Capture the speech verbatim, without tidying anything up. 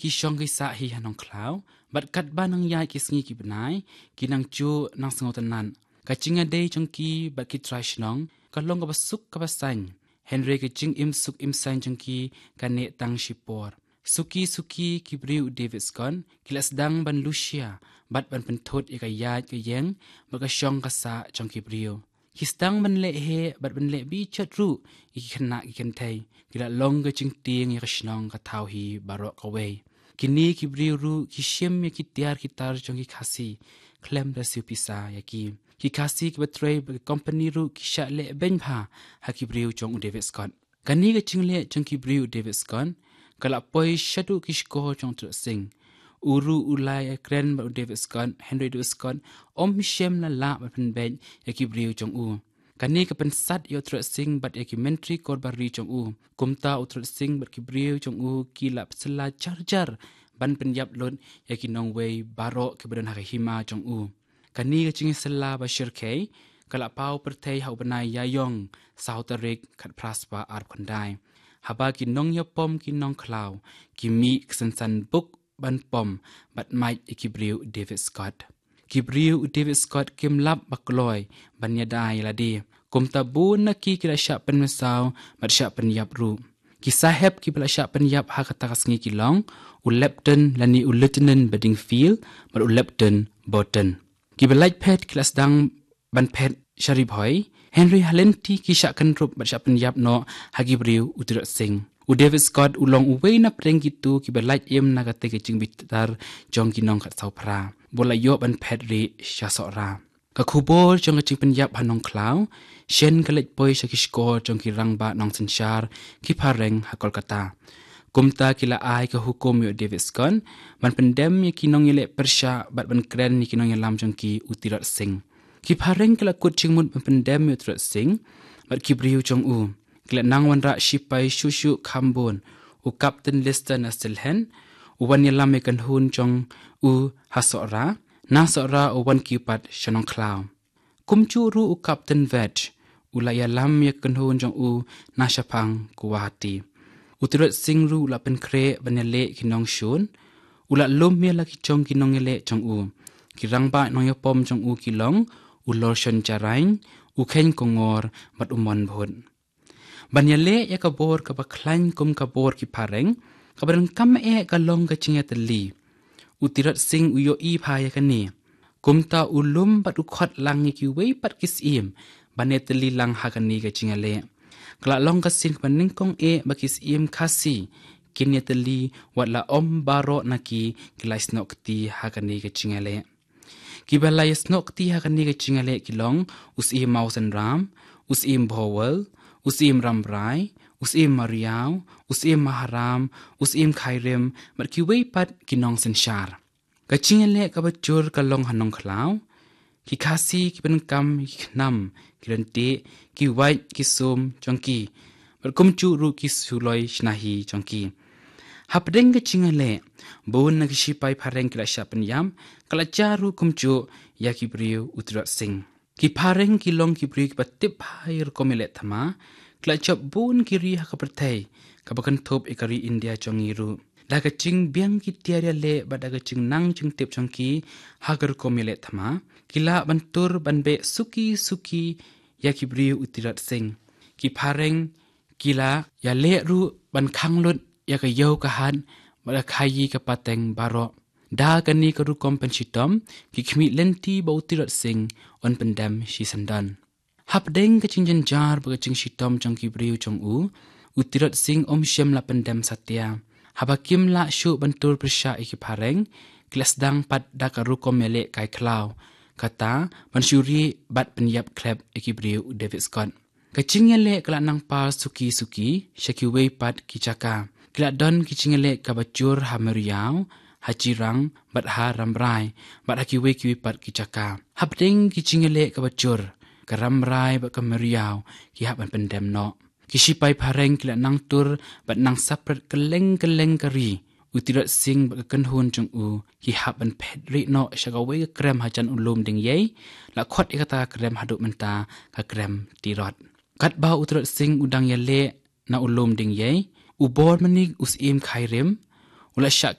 ki shong ki sah hi ha Nongkhlaw, bad katba nang ïaid ki sngi ki bnai, ki nang juh nang sngewtynnat. Ka jingïadei jong ki bad ki trai shnong ka long kaba suk kaba saiñ. Hynrei ka jingim suk im saiñ jong ki ka neh tang shipor. Suki suki ki briew u David Scott ki la sdang ban lushia bad ban pynthut ïa ka ïaid ka ïeng bad ka shong ka sah jong ki briew. Ki sdang ban leh heh bad ban leh bijot ruh ïa ki khynnah ki kynthei. Ki la long ka jingtieng ïa ka shnong ka thaw hi baroh kawei. Kine ki briew ruh ki shim ïa ki tiar ki tar jong ki Khasi khlem da siew pisa ïa ki. Ki Khasi kiba trei bad ki kompani ruh ki shah leh beiñ bha ha ki briew jong u David Scott. Kane ka jingleh jong ki briew u David Scott ka la poi shaduh ki shkor jong u Treat Singh. U ruh u la ïakren bad u David Scott, hynrei u David Scott um shym la lah ban pynbeit ïa ki briew jong u. Kane ka pynsat ïa u Treat Singh bad ïa ki myntri kor bar ri jong u. Kumta u Treat Singh bad ki briew jong u ki la pynsylla jar jar ban pynïap lut ïa ki nongwei baroh kiba don ha ka hima jong u. Kane ka jingïasylla ba shyrkhei ka la paw pyrthei ha u bnai Ïaïong, saw tarik khatphra spah arphew khyndai. Haba ki nongïapom ki Nongkhlaw ki mih ka synsan buk ban pom bad mait ïa ki briew u David Scott. Ki briew u David Scott kim lap ba kloi ban ïada ïa lade. Kumta bun na ki ki la shah pynmynsaw bad shah pynïap ruh. Ki sahep kiba la shah pynïap ha kata ka sngi ki long u Lepton lane u Lieutenant Bedingfield bad u Lepton Burton. Kiba lait phet ki la sdang ban phet sha Ri Bhoi, hynrei ha lynti ki shah kynrup bad shah pynïap noh ha ki briew u Treat Singh. U David Scott u long uwei na pdeng kito kiba lait im na katei ka jingbitar jong ki nongkat sawphra ba la ïoh ban phet rieh sha Sohra. Ka khubor jong ka jingpynïap ha Nongkhlaw shen ka leit poi sha ki shkor jong ki rangbah nongsynshar ki phareng ha Kolkata. Kumta ki la ai ka hukum ïa u David Scott ban pyndem ïa ki nongïaleh pyrshah bad ban kren ïa ki nongïalam jong ki u Treat Singh. Ki phareng ki la kut jingmut ban pyndem ïa u Treat Singh bad ki briew jong u. Ki la nang wanrah shipai shuh shuh kham bun, u Captain Lister na Sylhet u wan ïalam ïa ka kynhun jong u ha Sohra, na Sohra u wan kiew pat sha Nongkhlaw. Kumjuh ruh u Captain Vetch u la ïalam ïa ka kynhun jong u na shaphang Guwahati. U Treat Singh ruh u la pynkhreh ban ïaleh ki nongshun. U la lum ïa la ki jong ki nongïaleh jong u. Ki rangbah nongïapom jong u ki long u Lorshon Jarain, u Kheiñ Kongor bad u Mon Bhut. Ban ïaleh ïa ka bor kaba khlaiñ kum ka bor ki phareng, kaba donkam eh ka long ka jingïatylli. U Treat Singh u ïohi bha ïa kane. Kumta u lum bad u khot lang ïa kiwei pat ki syiem ban ïatylli lang ha kane ka jingïaleh. Ka la long ka sien kaba nyngkong eh ba ki syiem Khasi kin ïatylli wat la ym baroh na ki ki la ïasnoh kti ha kane ka jingïaleh. Kiba la ïasnoh kti ha kane ka jingïaleh ki long u Syiem Mawsynram, u Syiem Bhowal, u Syiem Rambrai, u Syiem Mariaw, u Syiem Maharam, u Syiem Khairim bad kiwei pat ki nongsynshar. Ka jingïaleh kaba jur ka long ha Nongkhlaw. Ki Khasi kiba donkam ki khnam, ki lynti, ki wait, ki sum jong ki bad kumjuh ruh ki suloi shna hi jong ki. Hapdeng ka jingïaleh, bun na ki shipai phareng ki la shah pynïap, ka la jia ruh kumjuh ïa ki briew u Treat Singh. Ki phareng ki long ki briew kiba tip bha ïa ka rukom ïaleh thma. Ki la jop bun ki ri ha ka pyrthei, kaba kynthup ïa ka ri India jong ngi ruh. Da ka jingbiang ki tiar ïaleh bad da ka jingnang jingtip jong ki ha ka rukom ïaleh thma, ki lah ban tur ban beh suki suki ïa ki briew u Treat Singh. Ki phareng ki la ïaleh ruh ban khang lut ïa ka ïew ka hat bad ka khaïi ka pateng baroh. Da kane ka rukom pynshitom, ki khmih lynti ba u Treat Singh un pyndem shisyndon. Hapdeng ka jingjynjar bad ka jingshitom jong ki briew jong u, u Treat Singh um shym la pyndem satia. Haba kim lah shuh ban tur pyrshah ïa ki phareng, ki la sdang pat da ka rukom ïaleh kai khlaw, kata ban shu rieh bad pynïap khlep ïa ki briew u David Scott. Ka jingïaleh ka la nang par suki suki sha kiwei pat ki jaka. Ki la don ki jingïaleh kaba jur ha Myriaw, ha Jirang bad ha Rambrai, bad ha kiwei kiwei pat ki jaka. Hapdeng ki jingïaleh kaba jur, ka Rambrai bad ka Myriaw ki hap ban pyndem noh. Ki shipai phareng ki la nang tur bad nang sapret kylleng kylleng ka ri. U Treat Singh bad ka kynhun jong u ki hap ban phet rieh noh sha kawei ka krem hajan u Lum Diengiei, la khot ïa kata ka krem haduh mynta ka krem Tirot. Katba u Treat Singh u dang ïaleh na u Lum Diengiei, u bor mynnin u Syiem Khairim u la shah